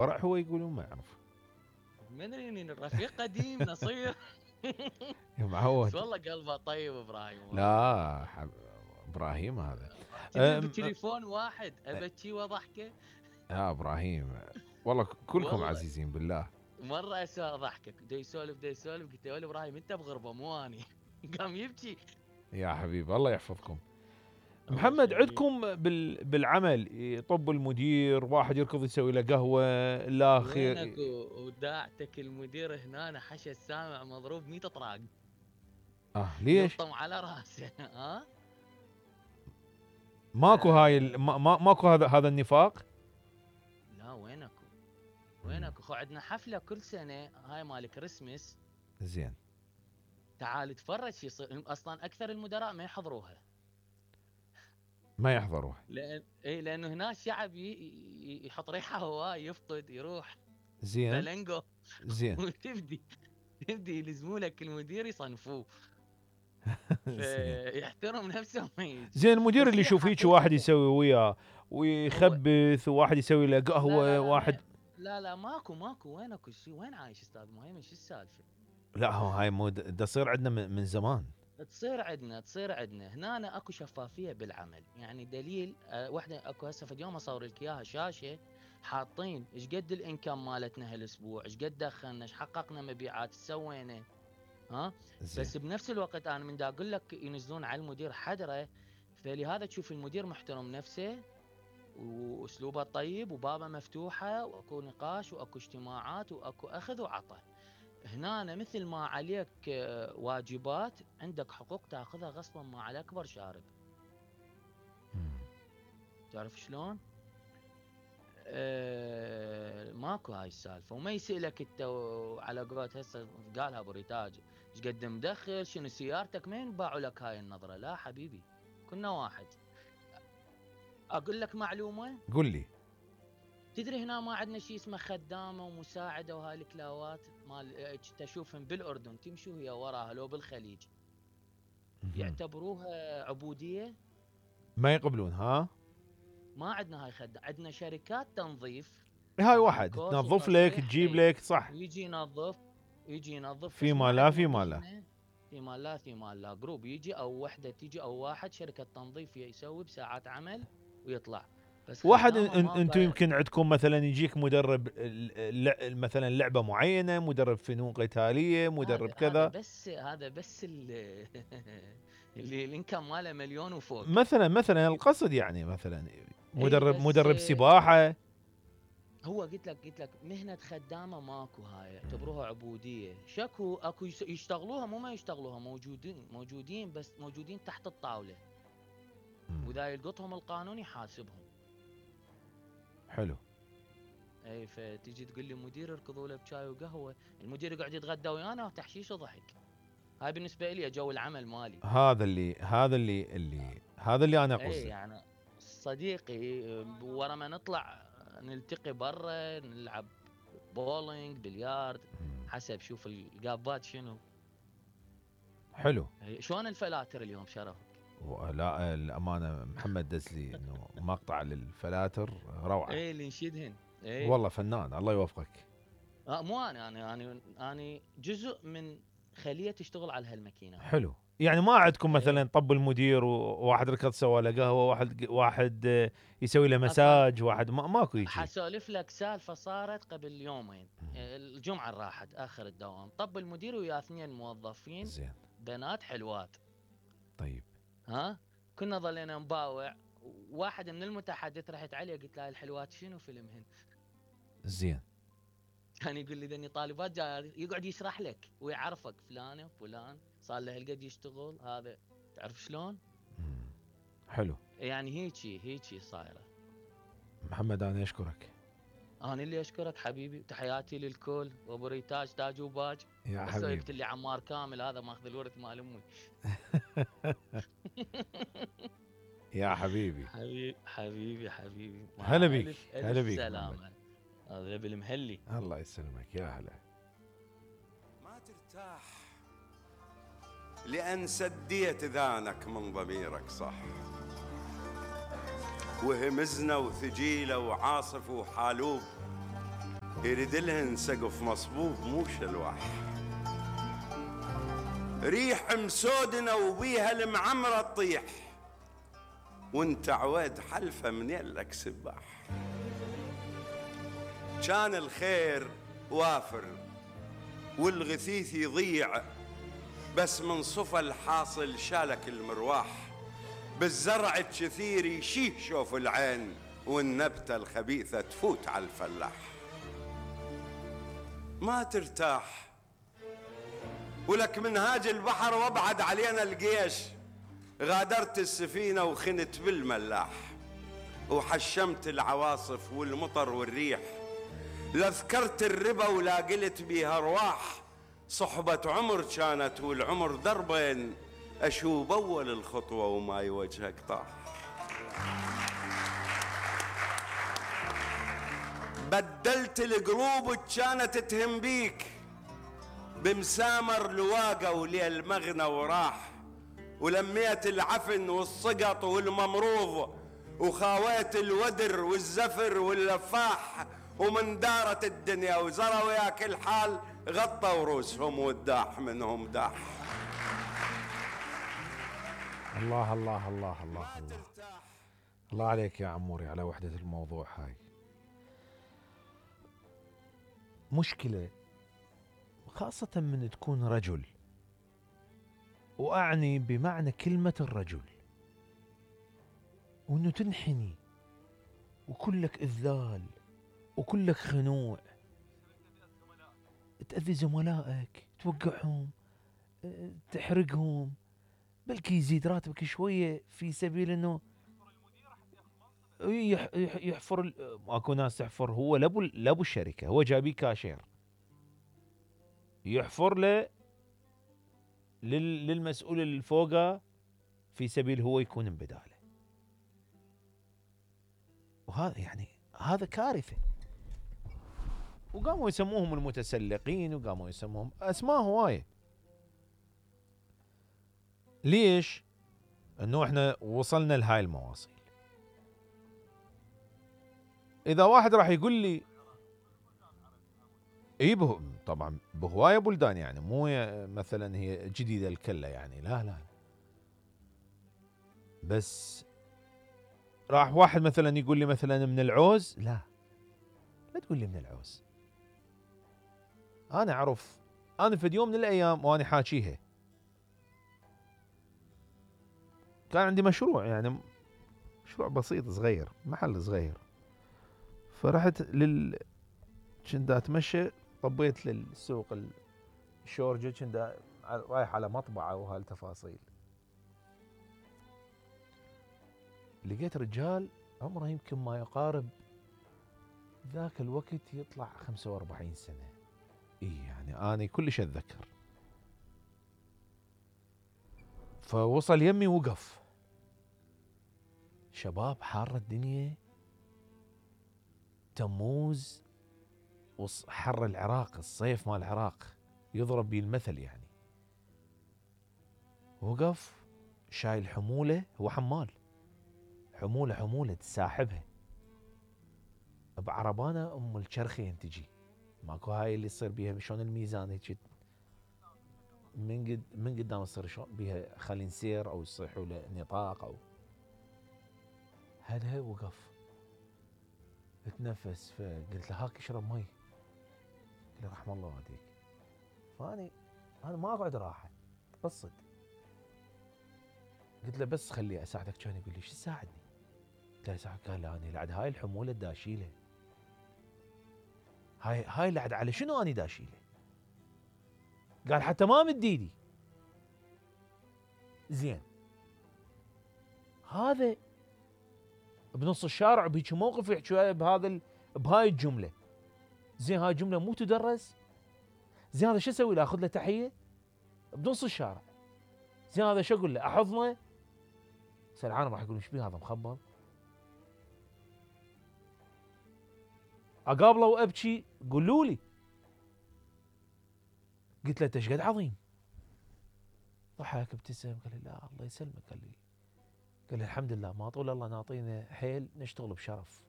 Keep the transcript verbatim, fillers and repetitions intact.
ورع هو يقولون ما يعرف. ما ادري اني الرفيق قديم نصير. يا بس معود. والله قلبه طيب ابراهيم والله. لا حب... ابراهيم هذا. تدري أم... أم... بتليفون واحد ابكي واضحكه. يا ابراهيم والله كلكم والله عزيزين بالله. مره اسمع ضحكك دا يسولف دا يسولف قلت له يا ابراهيم انت بغربه مو اني. قام يبكي. يا حبيبي الله يحفظكم. الله محمد يخليك. عندكم بال... بالعمل يطب المدير، واحد يركض يسوي له قهوه، الاخر وينك وداعتك المدير هنا حشى السامع مضروب مية طراق. اه ليش؟ يلطم على راسه. ها ماكو هاي آه. ال... ما... ما... ماكو هذا هذا النفاق. لا وينكو وينكو خو عندنا حفله كل سنه هاي مال كريسمس. زين. تعال تفرج شو يصير اصلا اكثر المدراء ما يحضروها. ما يحضروها. لان اي لانه هنا الشعب ي... ي- يحط ريحه هواي يفقد يروح. زين. بلنجو. زين. وتبدي تبدي يلزموا لك المدير يصنفوه. زين. فيحترم نفسه ما يجي. زين المدير بس اللي هي يشوف هيك واحد حقيقة يسوي وياه هو ويخبث، وواحد يسوي له لا قهوه، لا لا واحد. ما لا لا ماكو ماكو وينكو شي وين عايش استاذ مهيمن شو السالفه؟ لا هو هاي مو د- تصير عندنا من من زمان. تصير عندنا تصير عندنا هنا أنا اكو شفافيه بالعمل يعني دليل أه وحده اكو هسه في اليوم اصور لك اياها شاشه حاطين ايش قد الانكم مالتنا هالاسبوع ايش قد دخلنا ايش حققنا مبيعات ايش سوينا. ها زين. بس بنفس الوقت انا من دا اقول لك ينزلون على المدير حدره. فلهذا تشوف المدير محترم نفسه واسلوبه طيب وبابه مفتوحه واكو نقاش واكو اجتماعات واكو اخذ وعطاء. هنا أنا مثل ما عليك آه، واجبات عندك حقوق تاخذها غصبا ما على اكبر شارب. مم. تعرف شلون؟ أه ماكو هاي السالفه وما يسالك انت على قولت هسه قالها ابو ريتاج ايش قد مدخل شنو سيارتك ما ينباعوا لك هاي النظره لا حبيبي كنا واحد. اقول لك معلومه قل لي. تدري هنا ما عندنا شيء اسمه خدامه ومساعده وهاي الكلاوات مال تشوفهم بالاردن تمشي وهي وراها لو بالخليج مهم. يعتبروها عبوديه. ما يقبلون ها. ما عندنا هاي خدامه عندنا شركات تنظيف هاي طبعا واحد كوس تنظف لك وتصليح تجيب اي لك صح. يجي ينظف يجي ينظف في بس ما ما لا عندنا في ما لا. احنا في مال لا في مال لا جروب يجي او وحده تيجي او واحد شركه تنظيف يسوي بساعات عمل ويطلع. بس واحد خدامه ان ما انتم قا- يمكن عندكم مثلا يجيك مدرب الل- مثلا لعبه معينه، مدرب فنون قتاليه، مدرب هذا هذا كذا. بس هذا بس ال- اللي الانكم ماله مليون وفوق. مثلا مثلا القصد يعني مثلا اي مدرب بس مدرب سباحه. هو قلت لك قلت لك مهنه خدامه ماكو هاي يعتبروها عبوديه شكو اكو يس- يشتغلوها مو ما يشتغلوها موجودين موجودين بس موجودين تحت الطاوله مم. واذا يلقطهم القانون يحاسبهم. حلو. اي فتجي تقول لي مدير اركضوا له بشاي وقهوه المدير يقعد يتغدى ويانا وتحشيش وضحك. هاي بالنسبه لي جو العمل مالي. هذا اللي هذا اللي اللي هذا اللي انا اي قصدي. يعني صديقي ورا ما نطلع نلتقي برا نلعب بولينج بليارد مم. حسب شوف القابات شنو. حلو. شلون الفلاتر اليوم شرف؟ لا الامانه محمد دزلي انه مقطع للفلاتر روعه. ايه اللي نشيدهن. ايه والله فنان الله يوفقك. آه مو انا انا انا انا جزء من خليه تشتغل على هالماكينه. حلو. يعني ما عندكم ايه مثلا طب المدير وواحد ركض سوى له قهوه، واحد واحد آه، يسوي له اصلا مساج، واحد ما ماكو يجي. حسولف لك سالفه صارت قبل يومين الجمعه اللي راحت اخر الدوام طب المدير ويا اثنين موظفين زين. بنات حلوات. طيب. ها كنا ظلينا نباوع واحد من المتحدث رحت عليه قلت له الحلوات شنو فيلمهن. زين. كان يقول لي ذني طالبات جاي يقعد يشرح لك ويعرفك فلانه فلان صار له هالقد يشتغل هذا تعرف شلون. مم. حلو. يعني هيجي هيجي صايره. محمد انا اشكرك. انا اللي اشكرك حبيبي تحياتي للكل وابو ريتاج تاج وباج. يا بس حبيبي. قلت لي عمار كامل هذا ماخذ الورث مال امي. يا حبيبي. حبيبي حبيبي حبيبي مع هلا بيك. ألف هلا ألف بيك سلامة. هذا بالمهلي. الله يسلمك يا هلا. ما ترتاح لأن سديت ذانك من ضميرك صح، وهمزنا وثجيلة وعاصف وحالوب يريد لهن سقف مصبوب مو شلوح، ريح مسودنا وبيها المعمرة تطيح، وانت عويد حلفة من يلك سباح. كان الخير وافر والغثيث يضيع، بس من صفى الحاصل شالك المرواح، بالزرع الكثير يشيه شوف العين، والنبتة الخبيثة تفوت على الفلاح. ما ترتاح ولك منهاج البحر وابعد علينا الجيش، غادرت السفينة وخنت بالملاح، وحشمت العواصف والمطر والريح، لا ذكرت الربا ولا قلت بيها ارواح. صحبة عمر كانت والعمر دربين، اشوب اول الخطوة وما يوجهك طاح. بدلت القلوب كانت تهم بيك، بمسامر لواقة وليل مغنى وراح، ولميت العفن والسقط والممروض، وخاويت الودر والزفر واللفاح، ومن دارت الدنيا وزروا وياك الحال، غطوا رؤوسهم والداح منهم داح. الله الله الله الله الله الله عليك يا عموري على وحدة الموضوع هاي. مشكلة خاصة من تكون رجل، وأعني بمعنى كلمة الرجل، وإنه تنحني وكلك إذلال وكلك خنوع، تأذي زملائك، توقعهم، تحرقهم، بلكي يزيد راتبك شوية في سبيل إنه يحفر. اكو ناس تحفر، هو لابو لابو الشركة، هو جايبيه كاشير، يحفر له للمسؤول اللي فوقه في سبيل هو يكون بداله. وهذا يعني هذا كارثة. وقاموا يسموهم المتسلقين، وقاموا يسموهم اسماء هواية. ليش؟ انه احنا وصلنا لهاي المواصيل. اذا واحد راح يقول لي اي به طبعا بهوايه بلدان، يعني مو مثلا هي جديده الكله يعني، لا لا، بس راح واحد مثلا يقول لي مثلا من العوز، لا لا تقول لي من العوز. انا اعرف، انا في يوم من الايام وانا حاكيها كان عندي مشروع، يعني مشروع بسيط صغير، محل صغير، فرحت لل كنت اتمشى، طبيت للسوق الشورجة، كنت رايح على مطبعة وهالتفاصيل، لقيت رجال عمره يمكن ما يقارب ذاك الوقت يطلع خمسة وأربعين سنة. اي يعني انا كلش اتذكر. فوصل يمي وقف، شباب حارة الدنيا، تموز وحر العراق، الصيف مال العراق يضرب بيه المثل يعني. وقف شايل حمولة، هو حمال، حمولة حمولة تساحبها بعربانة ام الشرخين تجي، ماكو هاي اللي يصير بيها شلون الميزان هيك من قد من قدام تصير شلون بيها خلي نسير او يصيحوا له نطاق او هذا. وقف اتنفس، فقلت له هاك اشرب مي، قال لي رحم الله والديك. فاني انا ما اقعد راحه تبسط، قلت له بس خلي اساعدك. كان يقول لي شو تساعدني؟ قلت له اساعدك. قال اني لعد هاي الحموله دا اشيلها، هاي هاي لعد على شنو اني دا اشيلها؟ قال حتى ما مد ايدي. زين هذا بنص الشارع بهيك موقف يحكي بهذا ال... بهاي الجمله. زين هاي الجمله مو تدرس؟ زين هذا شو اسوي له؟ اخذ له تحيه بنص الشارع؟ زين هذا شو اقول له؟ احضنه؟ سرعان راح يقول ايش بيه هذا مخبل؟ اقابله وابكي؟ قولوا لي. قلت له انت ايش قد عظيم؟ ضحك ابتسم قال لي لا الله يسلمك. قال لي قال لي الحمد لله ما طول الله ناطينا حيل نشتغل بشرف.